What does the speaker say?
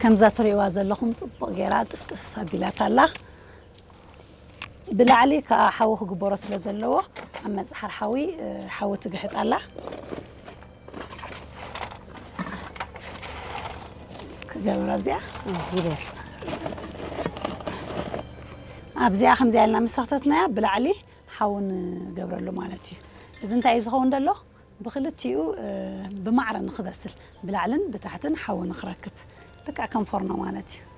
ከምዛ ትርእይዋ ዘለኹም ጽቡቕ ገይራ ጥፍጥፍ ኣቢላታ ኣላ። ብላዕሊ ከዓ ሓዊ ክግበሮ ስለ ዘለዎ ኣብ መጽሓር ሓዊ ሓዊ ትግሕጥ ኣላ። ክገብር ኣብዚኣ ይበር ኣብዚኣ ከምዚኣ ኢልና ምስ ሰኽተትናያ ብላዕሊ ሓዊ ንገብረሉ ማለት እዩ። እዚ እንታይ እዩ ዝኸውን ዘሎ? ብክልቲኡ ብማዕረ ንክበስል ብላዕልን ብታሕትን ሓዊ ንክረክብ ልክዕ ከም ፎርኖ ማለት እዩ።